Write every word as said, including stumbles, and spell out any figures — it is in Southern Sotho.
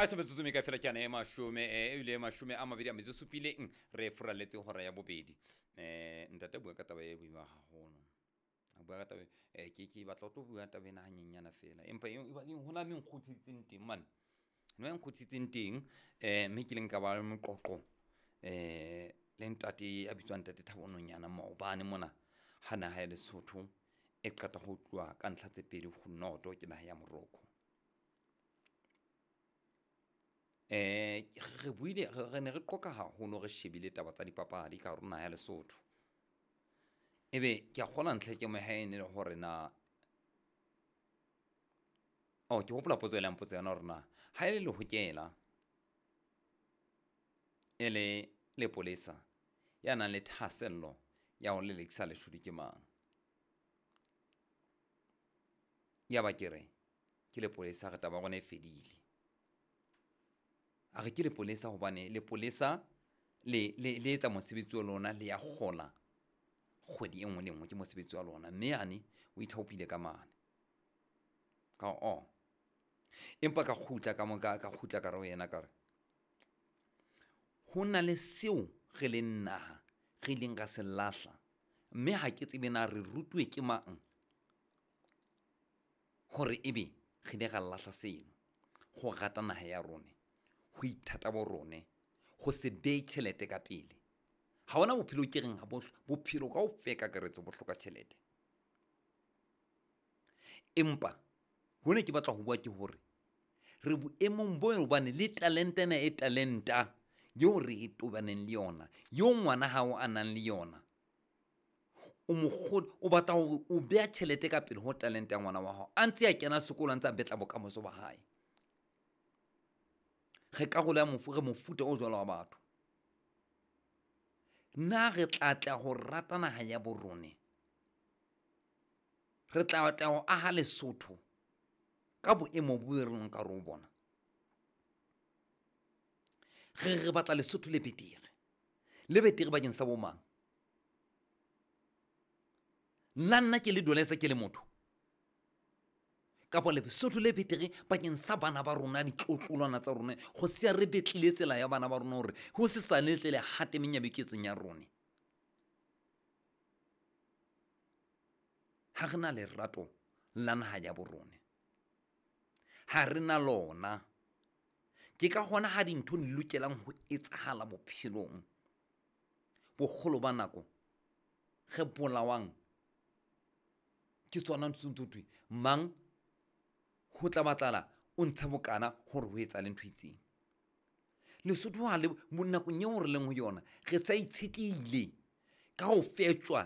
A se metsotso me ka fela ke ana e mashome, eh, ebile e mashome a mabedi a metso e supileng re furaletse hora ya bobedi. um Ntate a bua ka taba e boima haholo, a bua ka taba e ke ke batla ho tlo bua taba ena hanyenyana fela, empa ho na le nkgutlisitseng teng mane, no e nkgutlisitseng teng. um Mme ke ileng ka ba le moqoqo um le ntate a bitswang Ntate Thabo Nonyana maobane mona, ha naha ya Lesotho e qeta ho tluwa ka ntlha tse pedi ho noto ke naha ya Morocco. um Re buile, re ne re qoqa haholo, re shebile taba tsa dipapadi ka hare ho naha ya Lesotho. Ebe ke a kgolwa ntlha ke mo ha e ne le hore na, oh ke hopola potso e le mpotsa yona hore na ha e le lehokela e le lepolesa ya nang le thahasello ya ho lelekisa leshodu ke mang. Ya ba ke re ke lepolesa, re taba ya rona e fedile. A re ke lepolesa hobane lepolesa le le le etsa mosebetsi wa lona, le ya kgola kgwedi e nngwe le nngwe, ke mosebetsi wa lona. Mme yane o ithaopile ka mane ka o, empa ka kgutla ka mo ka kgutla ka re ho yena, ka re ho na le seo re leng naha re ileng ra se lahla, mme ha ke tsebe na re rutuwe ke mang hore ebe re ile ra lahla seno. Ho rata naha ya rona, ho ithata bo rone, ho se behe tjhelete ka pele. Ha hona bophelo ke reng ha bophelo kaofela kakaretso bo hloka tjhelete. Empa hone ke batla ho bua ke hore re boemong bo hobane le talente ena e talenta eo re e tobaneng le yona, eo ngwana hao a nang le yona, o mokgo o batla hore o beha tjhelete ka pele ho talente ya ngwana wa hao, a ntse a kena sekolo, a ntse a betla bokamoso ba hae. Re karolo ya mofu, re mofuta o jwalo wa batho. Na re tla tla ho rata naha ya bo rone, re tla tla ho aha Lesotho ka boemo bo re leng ka hare ho bona? Re re batla Lesotho le betere, le betere bakeng sa bo mang? Nna nna ke le Dolesa ke le motho, kapa Lesotho le betere bakeng sa bana ba rona, ditlotlolwana tsa rona, ho siya re betlile tsela ya bana ba rona hore ho se sane tle le hate menyabuketsong ya rona. Ha re na lerato la naha ya bo rona, ha re na lona. Ke ka hona ha dintho di lokelang ho etsahala bophelong, bokgolo ba nako re bolawang ke tsona ntho tse thwe mang ho tla batlala o ntshe bokana hore ho etsahale ntho e itseng. Lesotho ha le nakong eo re leng ho yona, re sa itshetlehile ka ho fetjwa